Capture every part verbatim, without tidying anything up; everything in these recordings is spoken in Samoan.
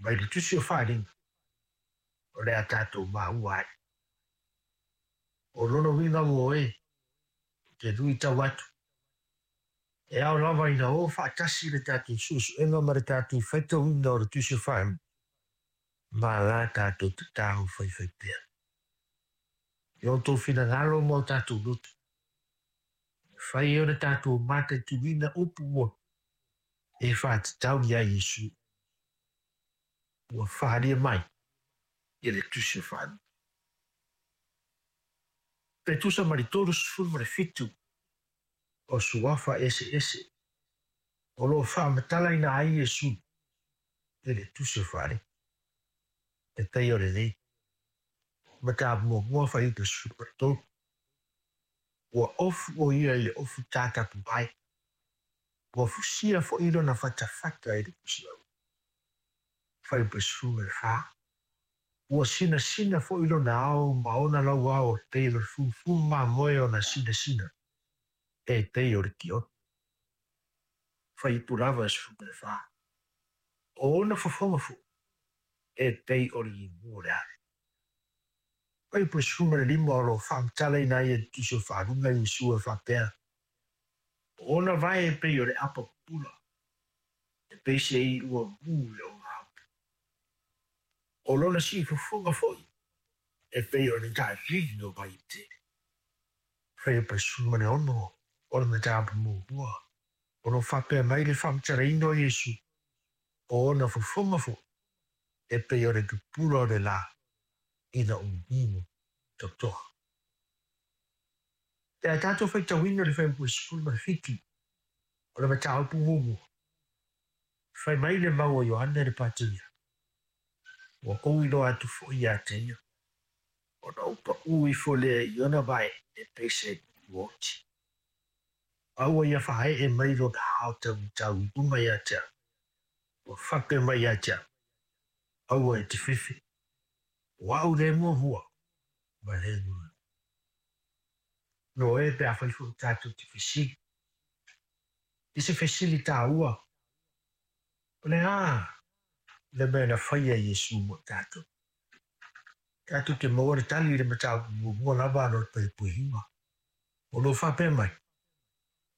Mai le Tusi o Faaaliga, o le a tatou maua ai. O lona uiga ua oe, ou te luitau atu, e ao lava ina o faatasi le tatou suesuega ma le tatou faitauina o le Tusi o Faaaliga ma la tatou tatalo faifaipea. I o outou finagalo ma o tatou loto, e fai ai ona tatou mataituina upu moni e faatatau ia Iesu ua faaalia mai i le Tusi o Faaaliga. Pe tusa ma le tolusefulu ma le fitu o suafa eseese o lo o faamatalaina ai Iesu i le Tusi o Faaaliga. E pei o lenei mataupu muamua fuaiupu e sefulu ma le tolu. Ua ofu o ia i le ofu tatapuvae, ua fusia foi lona fatafata i le pusiau. Fuaiupu e sefulu ma le fa. Ua sinasina foi lona ao ma ona lauao e pei o le fufumu mamoe ona sinasina e pei o le tioto. Fuaiupu lava e sefulu ma le fa. O ona fofoga foi e pei o le imu o le ale. Fuaiupu e sefulu ma le lima o lo o faamatalaina ai e le Tusi o Faaaliga Iesu e faapea, o ona vae e pei o le apa pupula, e pei se iua mu i le ogaumu. O lona siufofoga foi e pei o le tailigi o vaitetele. Fuaiupu e sefulu ma le ono o le mataupu muamua o lo o faapea mai le faamatalaina o Iesu, o ona fofoga foi e pei o le pupula o le la ina umumu totoa. Pe a tatou faitauina le fuaiupu e sefulu ma le fitu o le mataupu muamua, fai mai le mau a Ioane le Pateia, ua ou iloa atu foi ia te ia, ona ou paū ifo lea i ona vae e pei se oti. A ua ia faaee mai lona ao taumatau i luga ia te au, ua faapea mai ia te au, aua e te fefe, o au le muamua ma le mulimuli. No e pe afai foi tatou te fesili. I se fesili taua, o le a le mea na faia e Iesu mo tatou? Tatou te maua le tali i le mataupu muamua lava ana o le fuaiupu e iva. O lo o faapea mai,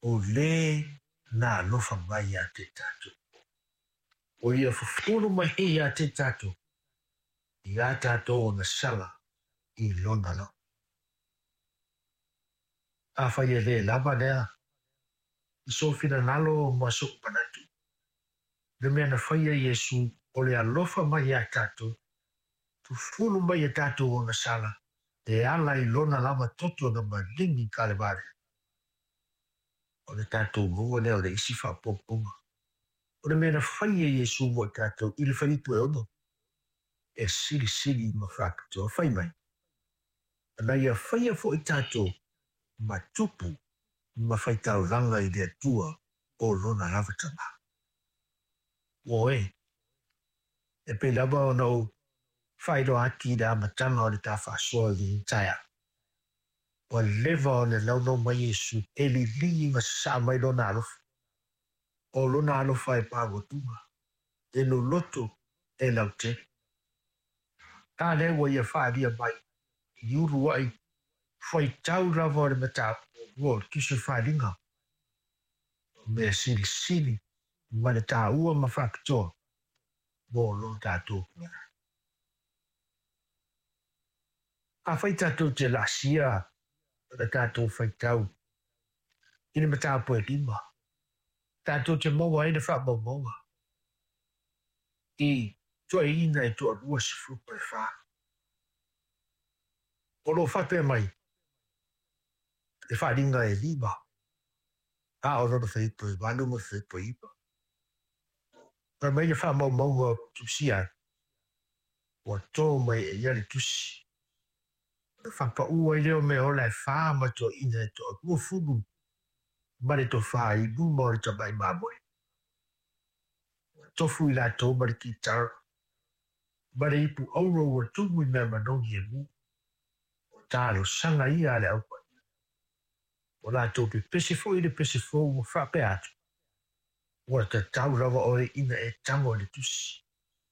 o le na alofa mai ia te tatou. O ia fufulu mai ia te tatou, i a tatou ona sala i lona loto. Afai e le lava lea, i sou finagalo ma sou manatu, le mea na faia Iesu o le alofa mai ia tatou, fufulu mai e tatou ona sala, e ala i lona lava toto na maligi i Kalevare. O le tatou maua lea o le isi faaopoopoga. O le mea na faia Iesu mo i tatou i le fuaiupu e ono, e silisili ma faapitoa. Fai mai, na ia faia foi tatou ma tupu ma faitaulaga i le Atua o lona lava Tama. Ua oe, e pei lava ona ou faailoa atu i le amataga o le ta faasoa i lenei taeao. Ua leva ona naunau mai Iesu e liligi ma sasaa mai lona alofa. O lona alofa e pauatuga, e loloto e lautele. A lea ua ia faaalia mai i uluai faitau lava o le mataupu muamua o le Tusi o Faaaliga, o mea silisili ma le taua ma faapitoa mo lo tatou pulega. Afai tatou te laasia le tatou faitau i le mataupu e lima, tatou te maua ai le faamaumauga i toeaiina e toalua sefulu ma le fa. O lo o faapea mai le faaaliga e lima, a o lona fuaiupu e valu ma le fuaiupu e iva. Fai mai le faamaumauga o tusia ai, ua to mai e ia le tusi. Ona faapaū ai lea o meaola e fa ma toeaiina e toalua fulu ma le tofa i luma o le tamai mamoe. Ua tofu i latou ma le kitara, ma le ipu auro ua tumu i mea manogi e mu. O talosaga ia a le aupaia. Ua latou pepese foi i le pese fou ua faapea atu, ua tatau lava oe ina e tago i le tusi.